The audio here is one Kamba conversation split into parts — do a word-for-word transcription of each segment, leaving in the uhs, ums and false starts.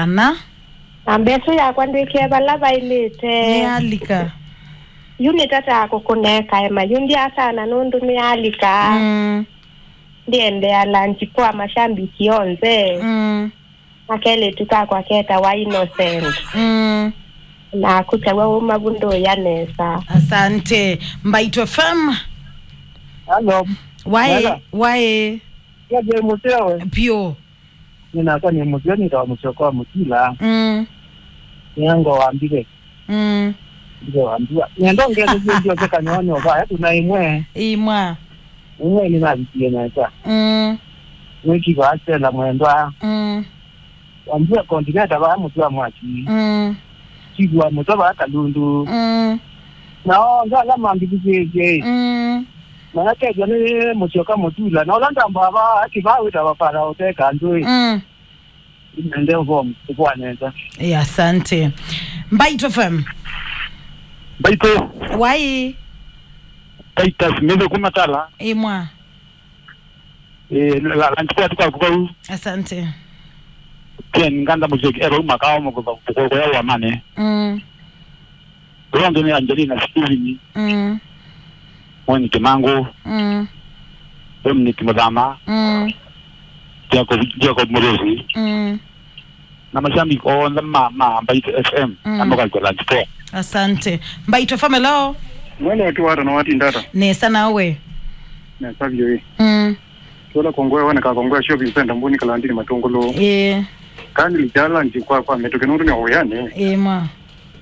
Na? Na mbesa yakwa ndwĩkĩe vala vaĩlĩte. Nĩyalika. Yu nĩtataa kũkũneka ema. Yu ndiasana nũndũ nĩyalika. Mm. Ndiendea lunch kwa mashabiki onthe. Mm. Na kelĩtu kakwa ketawa Innocent. Mm. Na kũtaw'a ũmavu ndũya nesa. Asante. Mbaitũ F M. Hello. Waĩ, Hello. Waĩ. Yaje mutewe. Pio. Nĩnakwa nĩ mũseo nĩtawa mũsyoka wa mũtila. Mm. Nĩango wambire. Mm. Ndike wambua. Nĩenda ongelesye ndio kanyonyo vaya tuna imwe. Imwa. Imwe nĩnavikie nesa. Mm. Nĩkiva Stella mwendwa. Mm. Wambua kondineta vaya mũtwa mwaki. Mm. Kigwa mũtwa vaya kalundu. Mm. Na onthe ala mambithikĩĩsye. Mm. Manakethwa nĩ mũsyoka mũtula. Na ũla ndambaa vaa akĩvaa wĩtawa Farao teka ndũĩ. Mm. Nende ũvoo mũkũvwa nesa. Ĩ, asante. Mbaitũ F M. Mbaitũ. Waĩ. Titus Mĩthĩ kuma Tala. Ĩmwa. Ĩ, la, la, nchikwa tuka kukau. Asante. Ken Nganda Muziki, ero uma kawa mukutha kukoya wa mane. Mm. Ũla ũngĩ nĩ Angelina Steven, Mm. Mweni Kimangũ, Mm. Dominic Muthama, Mm. Jacob, Jacob Murusi, Mm. na mashabiki onthe ma, ma Mbaitũ F M, Mm. na mũkalika lunch poa. Asante. Mbaitũ F M, hello. Mwene watu wata na wati ndata. Nesa nawe. Nesa vyũ ĩ. Mm. Tũla kongwe woneka kongwe shopping center Mbuni Kalandini Matungulu. Ĩĩ. Kani lichala nji kwa kwa mĩtũkĩ nũndũ nĩ ũyani. Ĩĩ ma.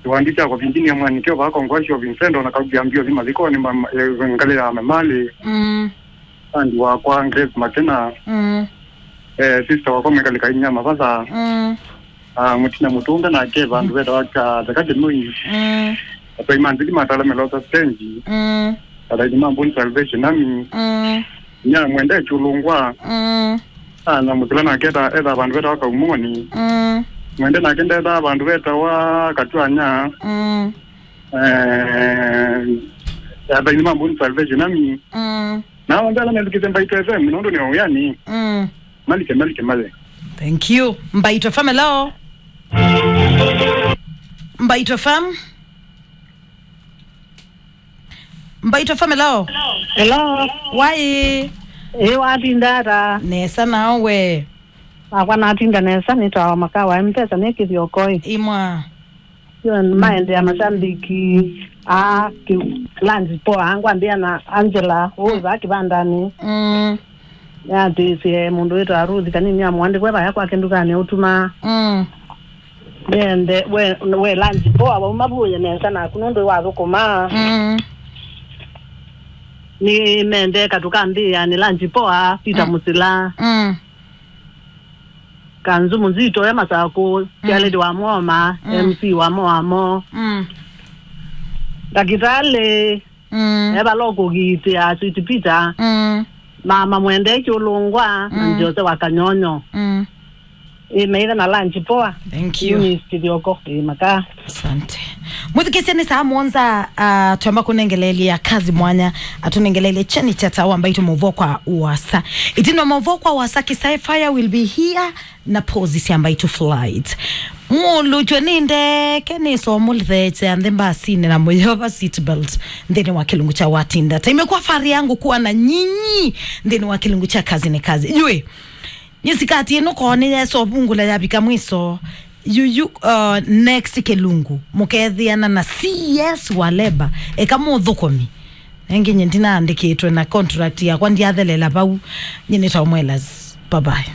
Kiwandi kya kũvindinia mwanikio vaa kongwe shopping center na kaugia mbio thi mathikoni ma, ma, eh, ngalĩ ya mamali. Mm. Andi wakwa Grace Makena. Mm. Eh, sister wakwa Mwikali Kainya Mavatha. Mm. Ah, Mutina Mutunga nake vandu vetawa ka Theka Kinui. Mm. Atoi manzili matala melosa stage. Mm. Atoi mambo ni Salvation Army. Mm. Nya mwende chulungwa. Mm. Ah, na mutila nake ta etha vandu vetawa Kaumoni. Mm. Mwende nake ndetha vandu vetawa Katwanya. Mm. Eh, atoi mambo ni Salvation Army. Mm. Na onthe ala methukĩte Mbaitũ F M, nũndũ nĩ ũyani. Mm. Malike, malike, male. Thank you. Mbaitũ F M, hello. Mbaitũ F M. Mbaitũ F M, hello. Hello. Waĩ. Ĩ, watinda ata? Nesa nawe. Nakwa natinda nesa, nĩtawa Makawa M-Pesa, nĩ Kĩthiokoi. Imwa. Yo, maendea mashabiki a ki-, lunch poa, ngwambia na Angela, ũza kĩvandani. Mm. Nĩatĩĩsye mũndũ wĩtawa Ruth kanini amũandĩkwe vaya kwake ndukanĩ ũtuma. Mm. Nĩende, we, we lunch poa, wauma vuye nesa naku nũndũ wathũkũma. Mm. Nĩ mende katũ ka mbĩanĩ lunch poa, Peter Mm. Mũsila. Mm. Kanzu Muzito e Masakũ, Mm. Kĩalĩti wa Moma, Mm. M C wa Moamo. Mm. Ndakĩtalĩ, Mm. e vala ũkũgiitĩa, Sweet Peter. Mm. Mama Mwende Kyũlũngwa, na Mm. Jose wa Kanyonyo. Mm. Ĩ, maitha na lunch poa. Thank you. Eunice Kithioko, ĩ, maka. Asante. Mwĩthukĩĩsye nĩ saa mũonza, ah, twamba kũnengeleelya kazi mwanya, atũnengeleelye cheni cha tawa Mbaitũ mũvo kwa uasa. Itina mũvo kwa uasa, Kisai Fire will be here na pozi sya Mbaitũ Flight. Mũlũtw'e nĩ ndeke, nĩ somũlithete nthĩ mbasinĩ na mũyova seat belt nthĩnĩ wa kĩlungu cha Watinda. Taimekuwa fahari yangu kuwa na nyinyi nthĩnĩ wa kĩlungu cha kazi ni kazi. Yui, Nĩsĩ kati ĩno koo nĩyesa ũvungũla yavika mwiso. Yuyu, uh, next kĩlungu, mũkethĩana na C S wa Labour, eka mũthũkũmi. Nengĩ nye ndinaandĩkĩtwe na contract yakwa, ndyathelela vau. Nyinĩta Omwelas. Bye bye.